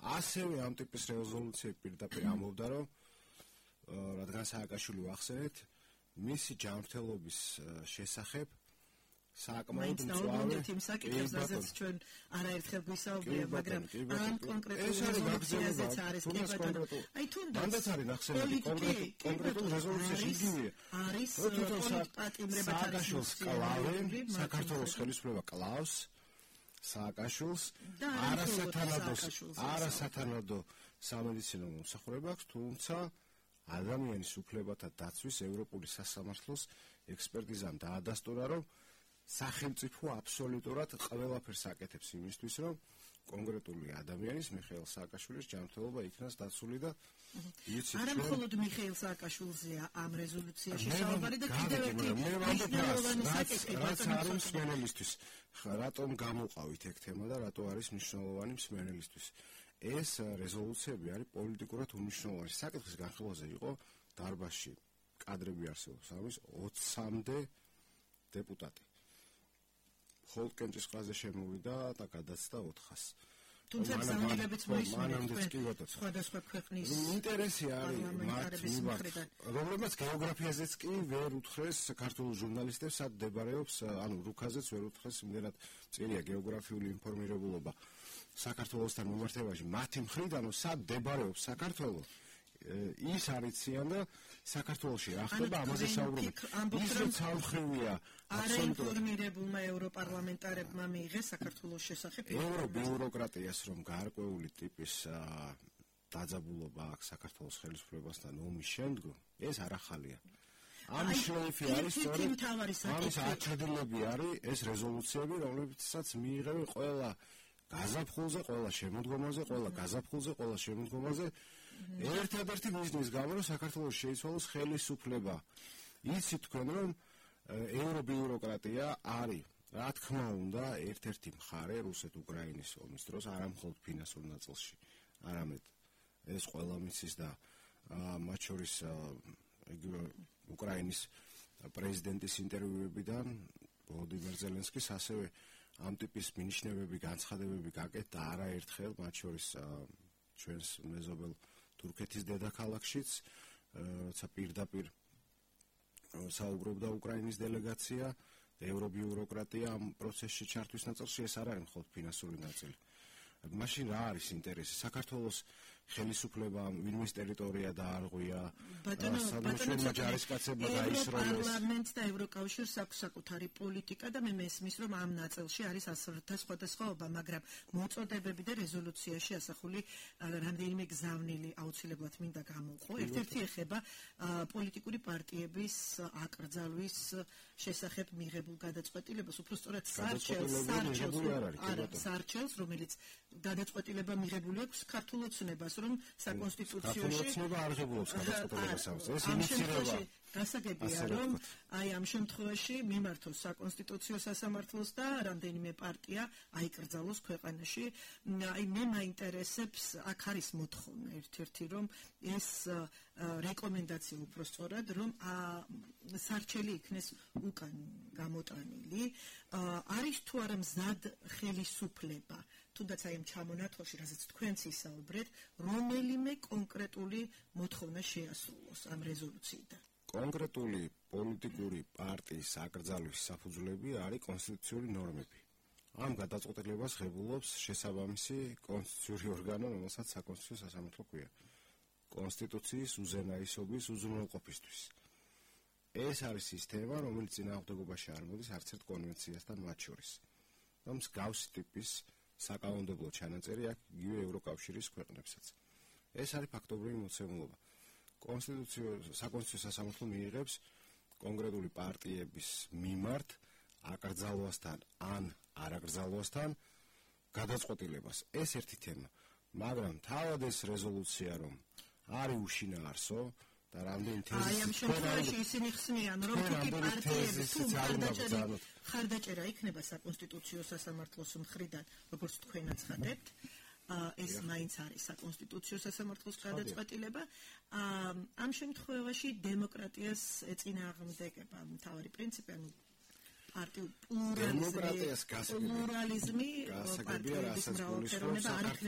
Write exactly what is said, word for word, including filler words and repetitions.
ასევე ამ ტიპის რეზოლუციები პირდაპირ ამბობდა, რომ რადგან სააკაშვილი ვახსენეთ, მისი ჯანმრთელობის შესახებ საკმაოდ მწვავე იმ საკითხებს, რაზეც ჩვენ არაერთხელ გვისაუბრია, მაგრამ ამ კონკრეტულ რეზოლუციაზეც არის კონკრეტულ. აი თუნდაც მანდაც არის ნახსენები კონკრეტულ რეზოლუციაში იგივეა. არის პოლიტპატიმრებად სააკაშვილს კლავენ, საქართველოს ხელისუფლება კლავს სააკაშვილს, არასათანადო სამედიცინო მომსახურება აქვს, თუმცა ადამიანის უფლებათა დაცვის ევროპული სასამართლოს ექსპერტიზამ დაადასტურა, რომ სახელმწიფო აბსოლუტურად ყველაფერს აკეთებს იმისთვის, რომ კონკრეტული ადამიანის მიხეილ სააკაშვილის ჯანმრთელობა იქნას დაცული და იცით არა მხოლოდ მიხეილ სააკაშვილზეა ამ რეზოლუციაში საუბარი და კიდევ ერთი მნიშვნელოვანი საკითხი რაც არის მსმენელისთვის. რატომ გამოყავით ეგ თემა და რატო არის მნიშვნელოვანი მსმენელისთვის? ეს რეზოლუციები არის პოლიტიკურად უმნიშვნელოვანი. საკითხის განხილვაზე იყო დარბაზში კადრები არსებობს, ამის ოცამდე დეპუტატი. ხოლკენჭის ყრაზე შემოვიდა და გადაცდა ოთხას. თუმცა ზანდებებიც მოისმინეთ სხვადასხვა ქვეყნის ინტერესი არის მათ მიმართ, რომლებიც გეოგრაფიაზეც კი ვერ უთხრეს საქართველოს ჟურნალისტებს, სად მდებარეობს, ანუ რუქაზეც ვერ უთხრეს, იმდენად წერია გეოგრაფიული ინფორმირებულობა საქართველოსთან მიმართებაში. მათი მხრიდან სად მდებარეობს საქართველო, ის არიციან და საქართველოში რა ხდება, ამაზე საუბრობთ. ის რომ ცალმხრივია არაინფორმირებულმა ევროპარლამენტარებმა მიიღეს საქართველოს შესახებ ევრობიუროკრატიას, რომ გარკვეული ტიპის დაძაბულობა აქვს საქართველოს ხელისუფლებასთან ომის შემდგომ, ეს არ ახალია. ამის шлейფი არის სწორედ ამის აჩრდილები არის ეს რეზოლუციები, რომლებიცაც მიიღებენ ყველა გაზაფხულზე, ყველა შემოდგომაზე, ყველა გაზაფხულზე, ყველა შემოდგომაზე ერთადერთი მიზნის გამო, რომ საქართველოს შეიცვალოს ხელისუფლება. იცით თქვენ, რომ ევრობიუროკრატია არის, რა თქმა უნდა, ერთ-ერთი მხარე რუსეთ-უკრაინის ომის დროს, არა მხოლოდ ფინანსურ ნაწილში, არამედ ეს ყველა მიცის და მათ შორის უკრაინის პრეზიდენტის ინტერვიუებიდან ვოლოდიმირ ზელენსკის ასევე ამ ტიპის მინიშნებები, განცხადებები გაკეთდა არაერთხელ, მათ შორის ჩვენს მეზობელ თურქეთის დედაქალაქშიც, როცა პირდაპირ საუბრობდა უკრაინის დელეგაცია, ევრობიუროკრატია ამ პროცესში ჩართვის ნაწილში, ეს არ არის მხოლოდ ფინანსური ნაწილი. მაშინ რა არის ინტერესი? საქართველოს ხელისუფლებამ ვინმეს ტერიტორია დაარღვია, ბატონო ჯარისკაცებმა დაისროლეს. ევროპარლამენტს და ევროკავშირს აქვს საკუთარი პოლიტიკა და მე მესმის, რომ ამ ნაწილში არის ასრთა სხვადასხვაობა, მაგრამ მოწოდებები და რეზოლუციაში ასახული რამდენიმე გზავნილი აუცილებლად მინდა გამოვყო. ერთ-ერთი ეხება პოლიტიკური პარტიების აკრძალვის შესახებ მიღებულ გადაწყვეტილებას, უფრო სწორად სარჩელს, რომელიც გადაწყვეტილება მიღებული აქვს ქართულ ოცნებას, რომ საკონსტიტუციაში არღებულობს გადაწყვეტილებას. ეს ინიციირება გასაგებია, რომ აი ამ შემთხვევაში მიმართოს საკონსტიტუციო სასამართლოს და რამდენიმე პარტია აიკრძალოს ქვეყანაში. აი მე მაინტერესებს, აქ არის მოთხოვნა ერთ-ერთი, რომ ეს რეკომენდაცია უფრო სწორად, რომ სარჩელი იქნეს უკან გამოტანილი. არის თუ არა მზად ხელისუფლება, თუნდაც აი ამ ჩამონათვალში, რაზეც თქვენც ისაუბრეთ, რომელიმე კონკრეტული მოთხოვნა შეასრულოს ამ რეზოლუციიდან. კონკრეტული პოლიტიკური პარტიის აკრძალვის საფუძვლები არის კონსტიტუციური ნორმები. ამ გადაწყვეტილებას ღებულობს შესაბამისი კონსტიტუციური ორგანო, რომელსაც საკონსტიტუციო სასამართლო ჰქვია. კონსტიტუციის უზენაესობის უზრუნველყოფისთვის. ეს არის სისტემა, რომელიც წინააღმდეგობაში არ მოდის არც ერთ კონვენციასთან მათ შორის. და მსგავსი ტიპის საკანონმდებლო ჩანაწერი აქვს იგივე ევროკავშირის ქვეყნებსაც. ეს არის ფაქტობრივი მოცემულობა. კონსტიტუციო საკონსტიტუციო სასამართლო მიიღებს კონკრეტული პარტიების მიმართ აკრძალვასთან ან არაკრძალვასთან გადაწყვეტილებას. ეს ერთი თემა. მაგრამ თავად ეს რეზოლუცია რომ არის უშინაარსო და რამდენი თეზისი აი ამ შემთხვევაში ისინი ხსნიან, რომ თუკი პარტიების ხარდაჭერა იქნება საკონსტიტუციო სასამართლოს მხრიდან, როგორც თქვენ აცხადებთ, ეს მაინც არის საკონსტიტუციო სასამართლოს გადაწყვეტილება. ამ შემთხვევაში დემოკრატიას ეწინააღმდეგება მთავარი პრინციპი, ანუ პარტიულ პლურალიზმი, პლურალიზმი, პარტიების მრავალფეროვნება არ იქნება